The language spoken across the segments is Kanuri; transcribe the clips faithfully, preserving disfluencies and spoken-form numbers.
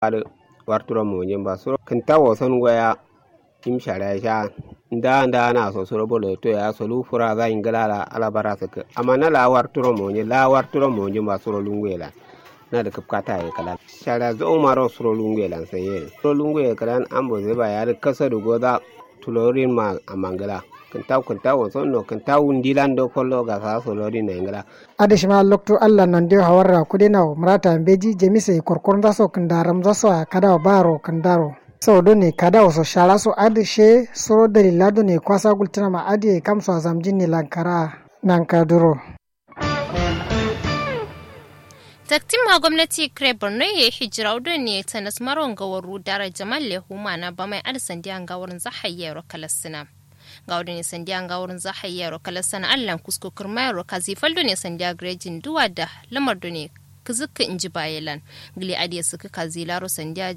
adǝ warturo monjin ba suro kǝnta woson goya. Im shara sha nda nda na so suro bolo to ya solu fura za ingila la ala bara sǝkkǝ amma na la warturo monjin la warturo monjin ba suro lungu ye lan. Na dǝ kǝfkata ye kǝlan shara zauma ro suro lungu ye lan sai ye suro lungu ye kǝlan ambo zai ba ya dǝ kasa dǝ goza. Tulorin ma amma ngǝla kǝntawu kǝntawu woson no kǝntawu ndilan do follo gasa solorin na ingila. Adǝ shima loktu allah nonde hawarra kudenawo murata mbeji jamiso ye korkoronzaso kǝndaramzaso a kadawo baro kǝndaro. Sau done kadawo so sharaso adǝ she suro dalila done kwasa gultǝnama adǝ ye kamso a zamjin ne lankara. Nankaduro. Taktin ma gomnati kǝre borno ye hijirawu done tanas maro ngawaru dara jamal le huma na bamai adǝ sandiya ngawarun za hayyero kalassǝna. Ngawo done sandiya ngawo runza hayyero kalassana allan kusko kǝrmayero kazi fal done sandiya gǝrejin duwa da lamar done kǝzǝkkǝ nji baye lan. Gǝli adǝ ye sǝkkǝ kazi laro sandiya.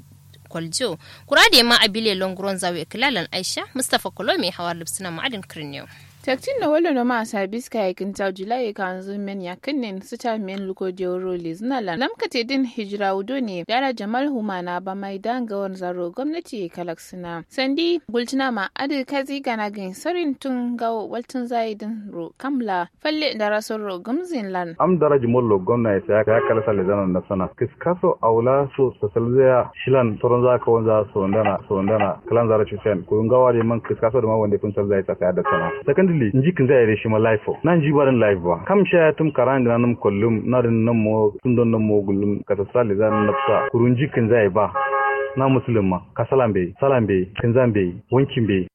Kwaljo kura adǝ ye ma abile longuronza we kǝla lan aisha mustapha kolomi hawar lubsǝna ma adǝn kǝrniyo. Taktin no wallo no ma sabis kaye kǝntawu jilaye kanzu men yakkǝnnen sǝta men luko dewuro lezǝna lan lamkate dǝn hijirawu done dara jamal humana bamai da ngawo runza ro gomnati ye kalak sǝna sandi gultǝna ma adǝ kazi gana gǝn sarin tun ngawo waltǝnza ye dǝn ro kam la falle darason ro gǝmzin lan. Am daraji mollo gomna ye saya kala sa lezana nafsana kǝskaso awo la so sasalzaya shilan soronza kawonza sawandana sawandana kǝlanza ro cusayan kuru ngawo adǝ ye man kǝskaso dǝ ma wande fǝnsalza ye sasaya daksana. Secondly nji kǝnza ye dǝ shima life o na nji ba dǝn life ba kam shaya tǝm karan gǝna nǝm kollum na dǝn nǝm mo tun don nǝm mo gullum kasassa lezana nafsa kuru nji kǝnza ye ba. Na musulum ma kasala mbeyi sala mbeyi kǝnza mbeyi wanki mbeyi.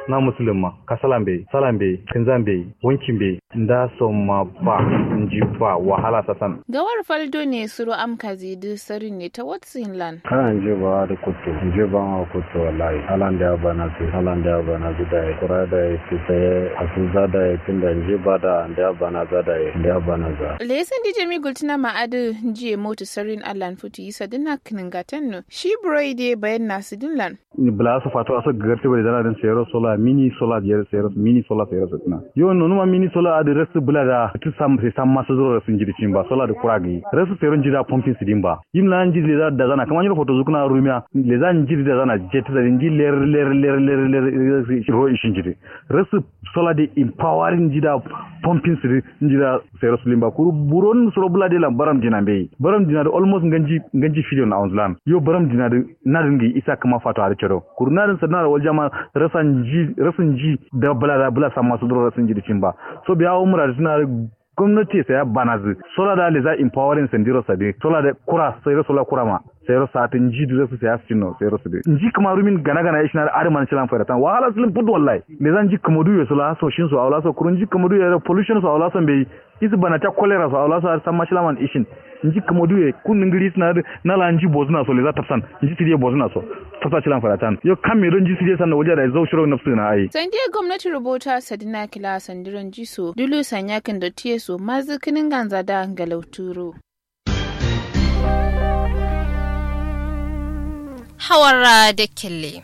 Na musulum ma kasala mbeyi sala mbeyi kǝnza mbeyi wanki mbeyi. Nda so ma ba nji ba wahala sasan. Gawar fal done suro am kazi dǝ sarin ne ta watsin lan. Kana nji ba dǝ kuttu nji ba ma kuttu wallahi ala ndeya bana si ala ndeya bana si dayi kura dayi si saye asu za dayi tunda nji ba da ndeya bana za dayi ndeya bana za. Leyi sandi jami gultǝna ma adǝ nji ye motu sarin allan futu yi sadin na kǝnǝngatan no shi buroi dǝ ye bayan na sidin lan. Bǝla so fato aso gǝgartǝ bari zana dǝn sayiro sola mini sola jere sayiro mini sola sayiro sǝtǝna. Yo nonuma mini sola adǝ rasu bǝla da tǝ sam sai sam masu zuro rasu njidi cin ba sola dǝ kura gǝyi rasu sayiro njida pompin sǝdin ba. Yim la njidi leza da zana kǝma nyiro foto zukuna rumiya leza njidi da zana jettǝ sadin nji ler ler ler ler ler ro ishin njidi. Rasu sola dǝ empowering njida pompin sǝdin njida sayiro sǝlin ba kuru buron suro bǝla dǝ lan baram dina mbeyi baram dina dǝ almost nganji nganji filiyon awunzǝ lan yo baram dina dǝ. Nadǝn gǝyi isa kǝma fato adǝ cado kuru nadǝn sǝdǝnaro walja ma. Rasa nji rasu nji da bǝla da bǝla samma suduro rasu nji dǝ cin ba. So biya awo muradǝ tǝna dǝ gomnati ye saya banazǝ sola da leza empowering sandiro sadǝ sola da kura sairo sola kura ma. Sairo satǝ nji dǝ rasu saya sǝcin no sairo sǝdǝ nji kǝma rumin gana gana ye shina dǝ adǝ man shilan faida tan wahala sǝlǝn fut wallahi. Leza nji kǝmadu ye sola so shin so awo la so kuru nji kǝmadu ye pollution so awo la so mbeyi. Isu bana ca kolera so awo la so adǝ samma shilaman ishin. Nji kǝmodu ye kun ngǝri sǝna dǝ na la nji bozǝna so leza tapsan. Nji sǝdiye bozǝna so tapsa shilan fadatan yo kam me do nji sǝdiye sanno walja dayi zau shiro nafsǝ gǝna ayi. Sandiye gomnati roboto a sadina kǝla sandiro nji so dulu sanya kǝndo tiye so mazǝ kǝnǝnganza da ngalauturo. Hawarra dakkelle.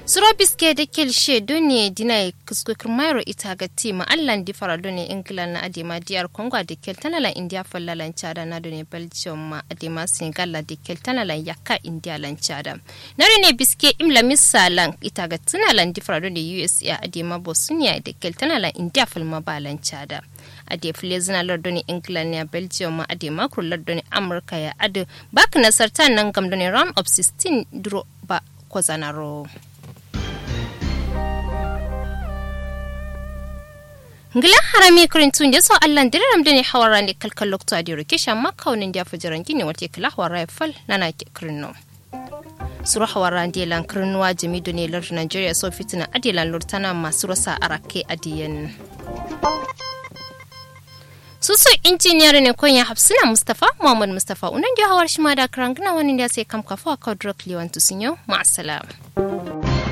Suro biske dakkel she done dinaye kǝsko kǝrmayero ita gatti ma allan difara done ingila na adema diyar kongo a dakkel tana lan indiya falla lan cada na done belgium ma adema senegal la dakkel tana lan yakka indiya lan cada. Na done biske im lamisa lan ita gattǝna lan difara done usa adema bosniya dakkel tana lan indiya falma ba lan cada. Ade fǝlezǝna lardone england ya belgium ma ade makuro lardone amurka ya adǝ. Bakǝ nasarta nangam done round of sixteen duro ba kozanaro. Ngla harami kǝrintu nde so allan dǝrǝram done hawarra nde kalkal loktu adiro kesha makka wone nde afajaran gine wate kǝla hawarra ye fal nana kǝrinno. Suro hawarra nde lan kǝrinnuwa jami done lardǝ nigeria so fitǝna ade lan lortana ma suro sa arakke adiyen. Susu injiniya done konya hafsina mustafa muhammad mustafa unan diyo hawar shima da kǝrangǝna wani nde ase kam kafu akau duro kǝlewan tusunyo. Ma'asalam.